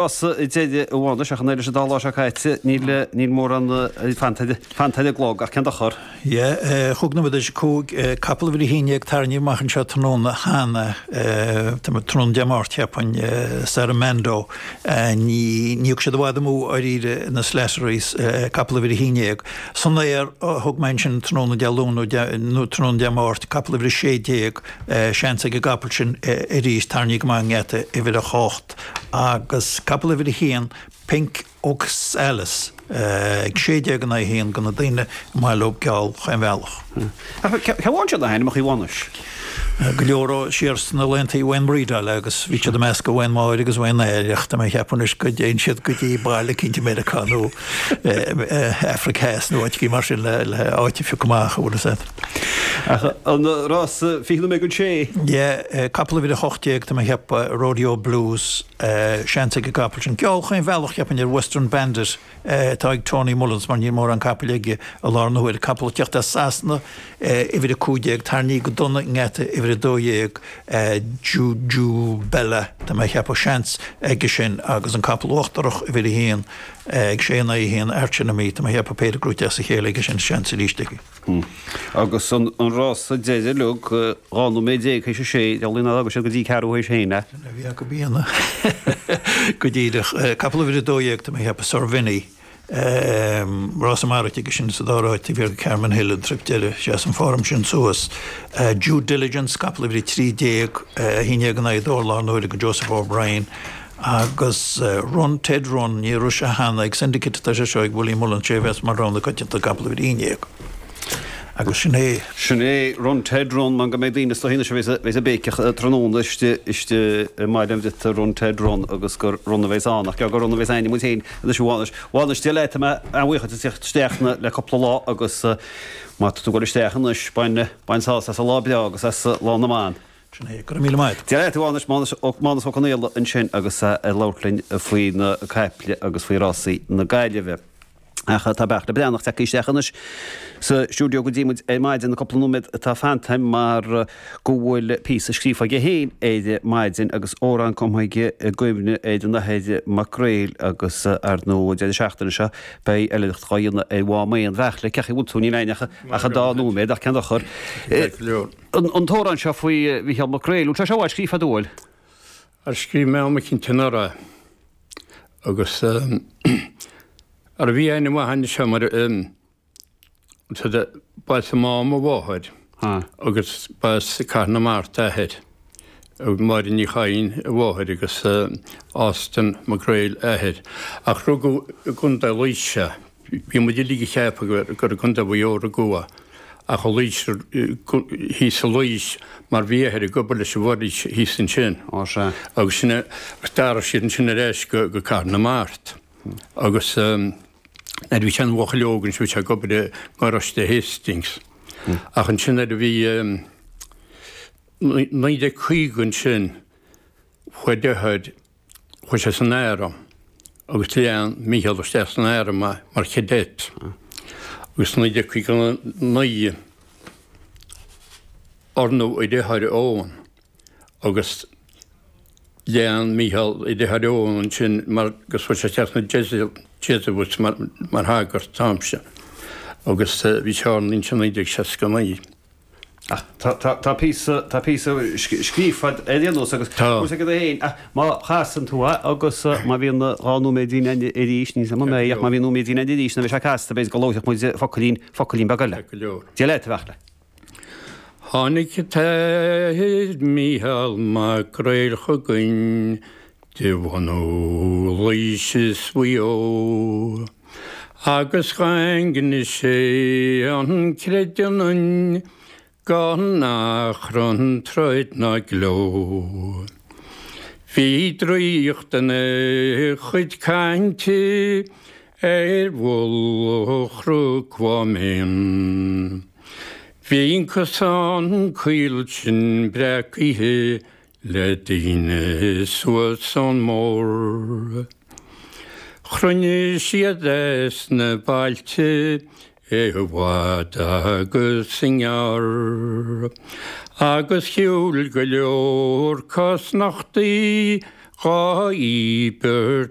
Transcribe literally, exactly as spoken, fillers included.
Rása deiridh a Mhánais ach an oiread leis an dá lá seo caite níl níl mórán fanta fanta ar an gclog ach ceann dá chur. Yeah, chúig nóiméad tar éis a cúig, capall uimhir a haon déag tarraingthe amach anseo tráthnóna cheana, tráthnóna Dé Máirt cheapfainn, Saramando. Ní ní thug siad i bhfad amú dáiríre na Slatterys, capall uimhir a haon déag. San aer a thug mé ansin tráthnóna Dé Luain nó tráthnóna Dé Máirt, capall uimhir a sé déag, seans ag an gcapall sin arís tarraingthe go maith i ngeata uimhir a hocht agus capall uimhir a haon, Pink Oxalis, ag sé déag in aghaidh a haon do na daoine ar maith leo geall chaon bhealach. Cé bhain siad na hainmneacha Mhánais? Go leor ó siar sna laethanta Uain Bhrídeáil agus bhí siad ag meascadh Uain Máire agus Uain Aer ach tá mé ag ceapadh anois go dtéann siad go dtí baile eicínt i Meiriceá nó Afraic Theas nó áit eicínt mar sin le áit a phiocadh amach, an bhfuil fhios agat. Ach an rása fiche nóiméad don sé? Yeah, capall uimhir a hocht déag tá mé ag ceapadh, Rodeo Blues, seans ag an gcapall sin. Geall chaon bhealach cheapfainn ar Western Bandit atá ag Tony Mullins mar níl mórán capaill aige i láthair na huaire. Capall ag teacht as Sasana, uimhir a cúig déag, tarraingthe go dona i ngeata uimhir a dó dhéag, Juju Bella tá mé ag ceapadh, seans aige sin agus an capall uachtarach uimhir a haon ag sé in aghaidh a haon, Arch Enemy, tá mé ag ceapadh péire gnóite as a chéile aige sin, seans arís aige. Agus an rása deiridh uilig, dhá nóiméad déag théis a sé, dealraíonn nár fhága siad go dtí ceathrú théis a haon é. Sin a bhí acu a dhéanamh go díreach. Capall uimhir a dó dhéag, tá mé ag ceapadh, Sir Vinny. Rása maraithe aige sin sa dá ráit, taobh thiar de Carmen Hill, an trip deiridh, sheas an form sin suas. Due Diligence, capall uimhir a trí déag, a haon déag in aghaidh a dó i láthair na huaire do Joseph O'Brien. Agus Run Ted Run, ní raibh sé cheana ag Syndicate atá sé seo ag Willie Mullins, sé a bheas mar rogha na coitianta, capall uimhir a haon déag. Agus sin é. Sin é Run Ted Run, mar go mbeidh daoine is dóigh anois a bheas a bheas ag béiceach tráthnóna istigh istigh i mBaile an Bhriotaigh Run Ted Run agus gur Run a bheas ann ach gur Run a bheas ainm muid féin anois a Mhánais. Mhánais, Dia leat, tá mé an-bhuíoch as teacht isteach le cúpla lá agus má tá tú ag dul isteach anois bain bain sásamh as an lá breá agus as Lá na mBan. Sin é. Go raibh míle maith agat. Dia leat, a Mhánais, Mánas Ó Mánas Ó Conaola ansin agus é ag labhairt linn faoi na caiple agus faoi rásaí na Gaillimhe. Ach tá Beairtle Breathnach tagtha isteach anois sa stiúideo go dtí muid ar maidin, na cúpla nóiméad atá fanta mar go bhfuil píosa scríofa aige féin ar maidin agus amhrán cumtha aige i gcuimhne ar an Athair Mac Gréil agus ar ndóigh an deireadh seachtaine seo beidh oilithreacht dhá dhéanamh ar Mhám Éan. Bheairtle, cén chaoi a bhfuil tú? Níl againn ach ach an dá nóiméad ach cén dochar. An t-amhrán seo faoi Mhícheál Mac Gréil, bhfuil sé seo i bhfad scríofa agat an bhfuil? Ar scríobh mé am eicínt anuraidh agus Ara bhí aithne mhaith againn anseo mar ba as an Mám a mháthair agus ba as Cathair na Mart a athair, Máire Ní Chadhain a mháthair agus Austin Mac Gréil a athair. Ach rugadh i gContae Laoise é. Bhí muid uilig ag ceapadh gur i gContae Mhaigh Eo a rugadh é ach i Laois, thíos i Laois mar bhí a athair ag obair leis an bhforaois thíos ansin. Agus sin é, d'athraigh siad ansin ar ais go Cathair na Mart. Agus nuair a bhí sé ina bhuachaill óg ansin bhí sé ag obair i ngaráiste Hastings. Ach ansin nuair a bhí naoi déag caoga ansin chuaigh a dheartháir, chuaigh sé san arm agus lean Mícheál isteach san arm é mar chadet. Agus naoi déag caoga naoi oirníodh a dheartháir Eoghan agus lean Mícheál a dheartháir Eoghan ansin mar agus chuaigh sé isteach sna Jesuits mar mar shagart an t-am sin agus bhí sé ornaithe ansin naoi déag seasca naoi. Ach tá tá tá píosa tá píosa scríofa agat ar aon nós agus Tá. cúrsa agat féin ach má chasann tú é agus má bhíonn dhá nóiméidín againn arís níl 's agam an mbeidh ach má bhíonn nóiméidín againn arís nuair a bheidh sé casta b'fhéidir go labharfadh muid focailín focailín beag eile. Go leor. Dia leat, a Bheairtle. Tháinig an tAthair Mícheál Mac Gréil chugainn de bhunadh Laoise is Mhaigh Eo, agus dhaingnigh sé an creideamh ionainn gan achrann, troid ná gleo. Bhí draíocht ina chuid cainte ar mhullach Chnoc Mhám Éan. Bhí an cosán caol sin breacaithe le daoine suas ón mbord. Chruinnigh siad as na bailte i bhfad agus i ngearr, agus shiúil go leor cosnochtaí Dhá íbirt